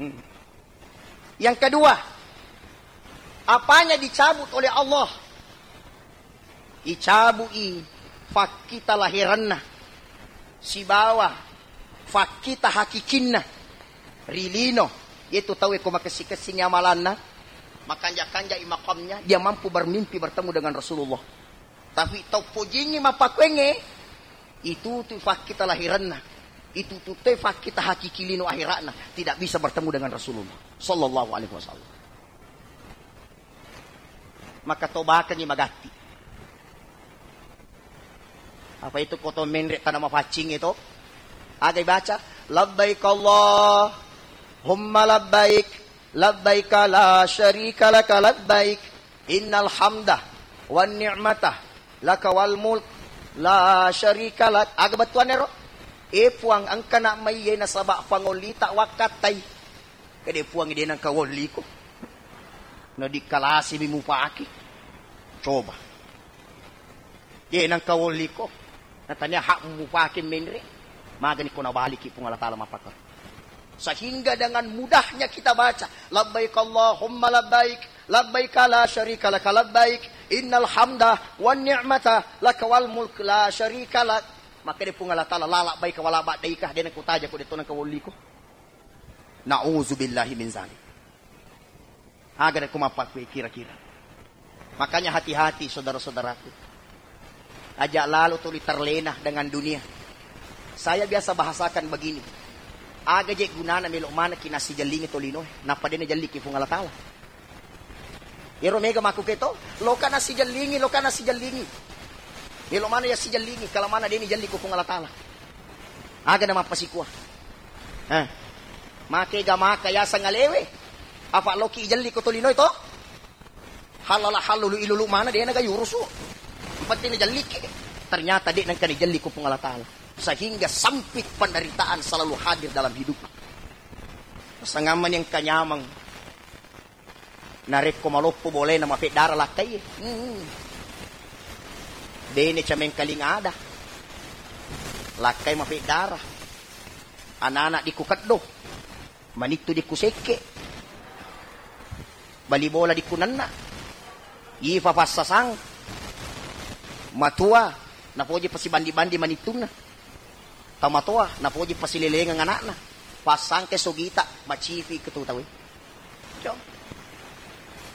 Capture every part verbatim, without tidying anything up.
Hmm. Yang kedua, apanya dicabut oleh Allah? Icabu'i fakkita lahiranna sibawa fakkita hakikinna ri lino, yaitu tauwe ko makessing-kessingi amalanna, makanja-kanjai makamnya, dia mampu bermimpi bertemu dengan Rasulullah. Tapi tau pojingngi mappakuengnge, itu tu fakkita lahiranna, itu tu te fakkita hakiki lino akhiratna, tidak bisa bertemu dengan Rasulullah sallallahu alaihi wasallam. Maka tobakengngi magatti. Apa itu koto menre' tana mapaccing itu? Aga ibaca, "Labbaik Allahumma labbaik, labbaik la syarika laka labbaik, innal hamda wan ni'mata laka wal mulk, la syarika lak." Aga bettuanna ro? E Puang, engka na' maiye nasaba' pangollita wakkattai. Kede Puang, de' nengka wolliko. Na dikkalasimi mupake. Coba. De' nengka wolliko. Natania hak mupake menre'. Magani ko nabaliki Puang Allah Ta'ala mappakka. Sehingga dengan mudahnya kita baca, "Labbaik Allahumma labbaik, labbaik la syarika laka labbaik, innal hamda wan ni'mata laka wal mulk la syarika lak." Maka de' Puang Allah Ta'ala, "La labbaika wa la ba'daika, de' nengka utaja ko, de' to nengka wolliko." Na'udzubillahi min zalik. Aga rekko mappakkue kira-kira. Makanya hati-hati saudara-saudaraku. Aja' lalo tuli terlena dengan dunia. Saya biasa bahasakan begini. Aga je' gunana melo' manekki nassijellingi tolinoe, nappa de' najelliki Puang Allah Ta'ala. Iyaro mega makkuke to, loka nassijellingi, loka nassijellingi. Melo' maneng yassijellingi, kala maneng de' nijelli ko Puang Allah Ta'ala. Aga na mappasikua. Eh. Makega maka yaseng alewe. Apa' loki ijelli ko tolinoe to? Hallala hallulu ilulu maneng de' naga yurusu. Penting najelliki. Ternyata de' nengka nijelli ko Puang Allah Ta'ala. Sehingga sempit penderitaan selalu hadir dalam hidup. Sangamani engka nyameng. Narekko maloppo bolena mafeddara lakkai. Hmm. Bene camengkaling ada. Lakkai mafeddara. Anak-anak dikku keddo. Manittu dikku sekke. Bali bola dikku nenna. Ifa passasang. Matua. Napoji pasibandi-bandi manittunna. Tamatoa, napoji pasilelengeng anakna. Passangke sogita, macifi ketu tawe. Jo.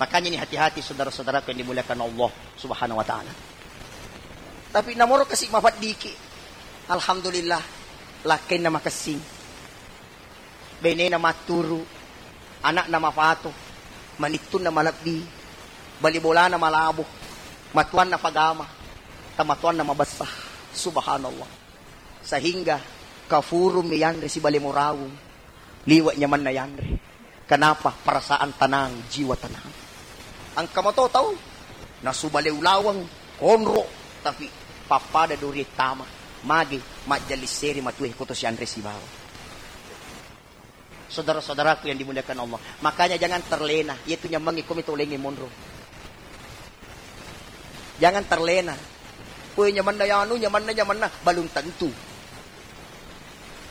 Makanya ini hati-hati saudara-saudaraku yang dimuliakan Allah Subhanahu wa Ta'ala. Tapi namoro kasi' mafaddiki. Alhamdulillah, lakkainna makessing. Benena matturu, anakna mafato, manittunna malebbi, bali bolana malabo, matuanna pagama, tamatuanna mabessa. Subhanallah. Sehingga kafurummi yanre sibale morawung. Liwe' nyamanna yanre. Kenapa? Perasaan tenang, jiwa tenang. Engka mato tau nasubale ulaweng, konro, tapi pappada dori tama. Magi majjalisseri matue koto sianre sibawa. Saudara-saudaraku yang dimuliakan Allah, makanya jangan terlena, yaitu nyameng iko mito lengnge monro. Jangan terlena. Kue nyamanna yanu, nyamanna, nyamanna, belum tentu.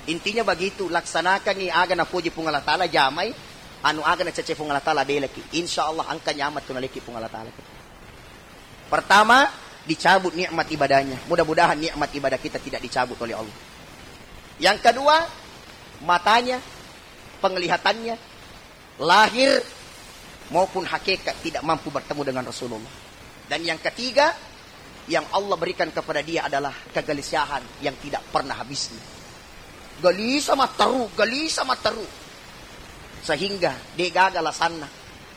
Intinya begitu, laksanakangi aga napoji Puang Allah Ta'ala, jamai, anu aga nacece Puang Allah Ta'ala, belaki. Insya Allah engka nyaman tu naleki Puang Allah Ta'ala. Pertama, dicabut nikmat ibadahnya. Mudah-mudahan nikmat ibadah kita tidak dicabut oleh Allah. Yang kedua, matanya, penglihatannya, lahir maupun hakikat tidak mampu bertemu dengan Rasulullah. Dan yang ketiga, yang Allah berikan kepada dia adalah kegelisahan yang tidak pernah habisnya. Gelisah matteru, gelisah matteru. Sehingga de' gaga alasanna,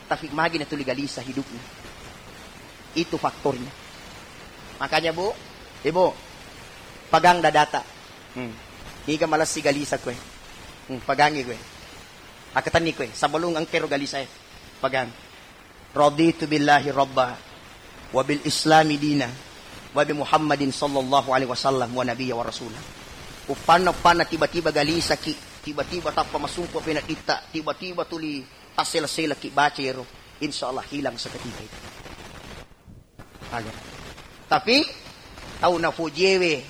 tapi magi natuli gelisah hidupnya. Itu faktornya. Makanya, Bu, Ibu, pegang dadata. Hmm. Niga malessi gelisah kue. Hmm, pegangi kue. Akkatenni kue, sebelum engkero gelisah, pegang. Raditu billahi rabba, wa bil islami dina, wa bi Muhammadin sallallahu alaihi wasallam wa nabiyya wa rasula. Uppanna-uppanna tiba-tiba galisaki, tiba-tiba tappa masumpu penedditta, tiba-tiba tuli tassela-selaki baca ero, insya Allah hilang seketika itu. Aga. Tapi tau napojiewe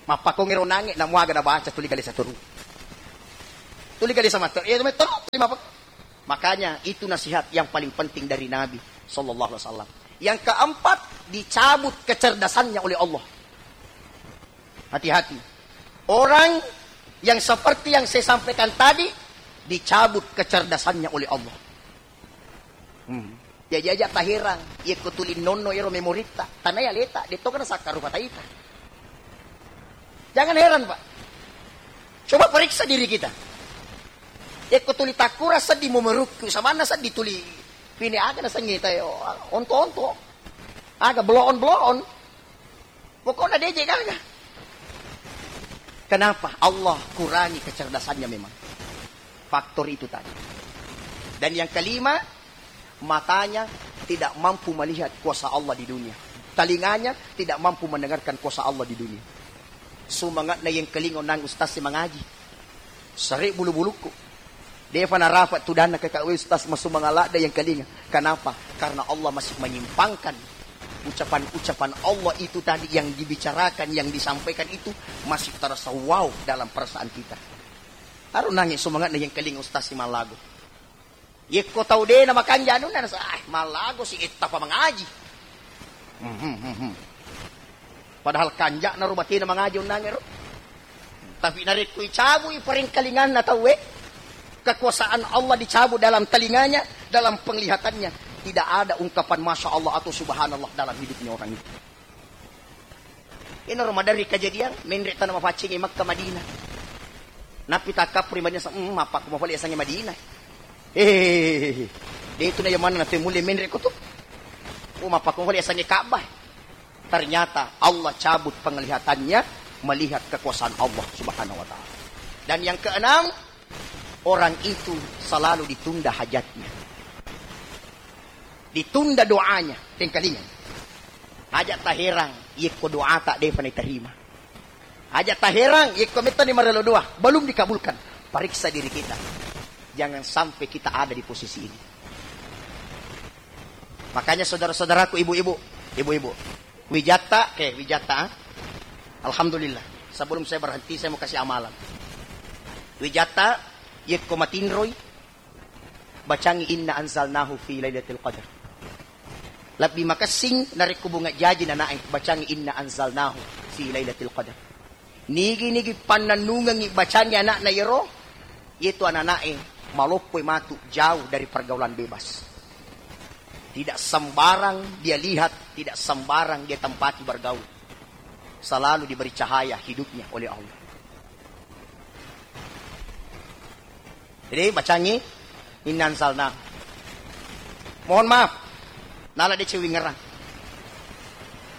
mappakongero nange namuaga nabaca tuli galisa turu. Tuli kali sama to. Iya, tuli apa? Makanya itu nasihat yang paling penting dari Nabi sallallahu alaihi wasallam. Yang keempat, dicabut kecerdasannya oleh Allah. Hati-hati. Orang yang seperti yang saya sampaikan tadi, dicabut kecerdasannya oleh Allah. Hmm. Jaji aja taherang, yekko tuli nonno ero memoritta, tanai aleta, detto kana sakkaru pataita. Jangan heran, Pak. Coba periksa diri kita. Yekko tuli takkura seddi memerukku, samanna seddi tuli pini aga nasengngi tayo, onto-onto. Aga blow on, blow on. Pokoknya D J gaga. Kenapa? Allah kurangi kecerdasannya memang. Faktor itu tadi. Dan yang kelima, matanya tidak mampu melihat kuasa Allah di dunia. Telinganya tidak mampu mendengarkan kuasa Allah di dunia. Sumangatna yang kelingo nang ustaz si mangaji. Sere bulu-bulukku. Defa narafa tudanna ke kawe ustaz masumanga ladda yang kelinga. Kenapa? Karena Allah masih menyimpangkan ucapan-ucapan Allah itu tadi yang dibicarakan, yang disampaikan itu masih terasa wow dalam perasaan kita. Taruh nangis sumangatna yang kelinga ustaz si malago. Yekko tau de na makanja anunna, nasa, "Ah, mallago si etta pa mangaji." Mhm, mhm. Padahal kanja'na ro batena mangaji onnangero. Tapi narekko icabui parengkalinganna tauwe, kekuasaan Allah dicabut dalam telinganya, dalam penglihatannya, tidak ada ungkapan masya Allah atau subhanallah dalam hidupnya orang itu. Inaro maderri kejadian, menre tana mapaccingi Makkah Madinah. Nappi takkappuri Madinah, sa-, mm, mappakkuma pole yasengnge Madinah. Eh, de itu na yamanna nate mulle menre ko tu. Oh, mappakkuma pole yasengnge Ka'bah. Ternyata Allah cabut penglihatannya melihat kekuasaan Allah Subhanahu wa Ta'ala. Dan yang keenam, orang itu selalu ditunda hajatnya. Ditunda doanya, tengkalinga. Aja taherang, yekko doata defa naiterima. Aja taherang, yekko mettani marelo doa, belum dikabulkan. Periksa diri kita. Jangan sampai kita ada di posisi ini. Makanya saudara-saudaraku, ibu-ibu, ibu-ibu, wijatta, oke, wijatta, ah. Alhamdulillah. Sebelum saya berhenti, saya mau kasih amalan. Wijatta, yekko matinroi, bacangi inna anzalnahu fi lailatul qadar. Lebbi makessing narekko bunga jaji nanae, bacangi inna anzalnahu fi lailatul qadar. Nigi-nigi pannennungengngi bacangngi ana'na iyaro, iyatu anana'e maloppoi matu jauh dari pergaulan bebas. Tidak sembarang dia lihat, tidak sembarang dia tempati bergaul. Selalu diberi cahaya hidupnya oleh Allah. Jadi bacangi inna anzalna. Mohon maaf, nala de cewingerang.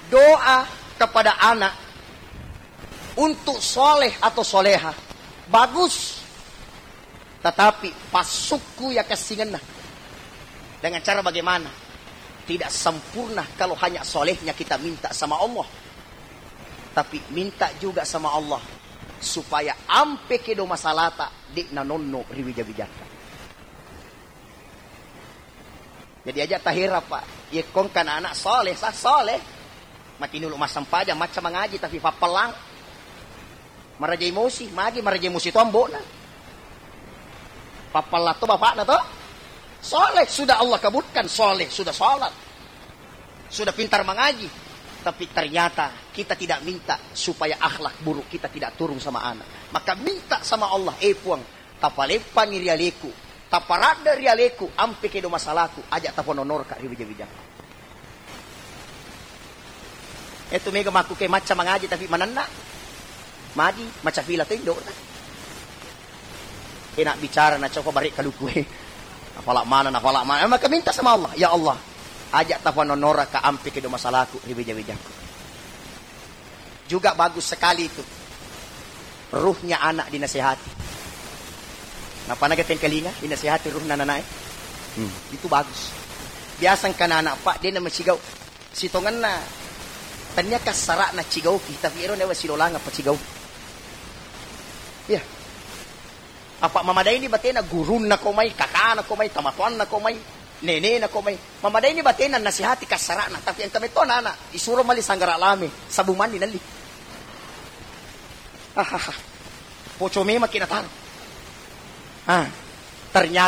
Doa kepada anak untuk soleh atau soleha bagus, tetapi pasukku ya kessingenna. Dengan cara bagaimana? Tidak sempurna kalau hanya solehnya kita minta sama Allah, tapi minta juga sama Allah supaya ampe kedo masalata de nanonno ri wija-wijatta. Jadi aja tahera, Pak. Yekkong kana anak soleh, sah soleh. Matinulu massempajang, macca mangaji, tapi pappallang. Maraja emosi, magi maraja emosi to ambo'na. Pappallang to bapakna to. Soleh, sudah Allah kabulkan, soleh, sudah sholat. Sudah pintar mangaji. Tapi ternyata kita tidak minta supaya akhlak buruk kita tidak turun sama anak. Maka minta sama Allah, eh Puang, tapaleppangi ri aleku, taparadde ri aleku, ampe kedo masalaku, aja tapononorka ri wija-wija. Etu mega makku ke macca mangaji tapi manenna. Magi macca fila to indo'na. Enak bicara na coba bare kaluku e. Nafala mana, nafala mana. Maka minta sama Allah, ya Allah, aja tapononorka ampe kedo masalaku ri wija-wijaku. Juga bagus sekali itu. Ruhnya anak dinasehati. Napa naga tengkalinga dinasehati ruhna nanae? Hmm, itu bagus. Biasa engka anak, Pak, de namacigau. Sitongenna tania kassara'na cigauki, tapi ero nawa silolanga pacigau. Iya. Apa mamadaini batena gurunna ko mai, kakana ko mai, tamatoanna ko mai, nenena ko mai. Mamadaini batena nasihati kassara'na, tapi engka metto anak-anak, isuro mali sanggara lame, sabu mandi nalli. Ahaha. Poco memang kina taro. Ah, ternyata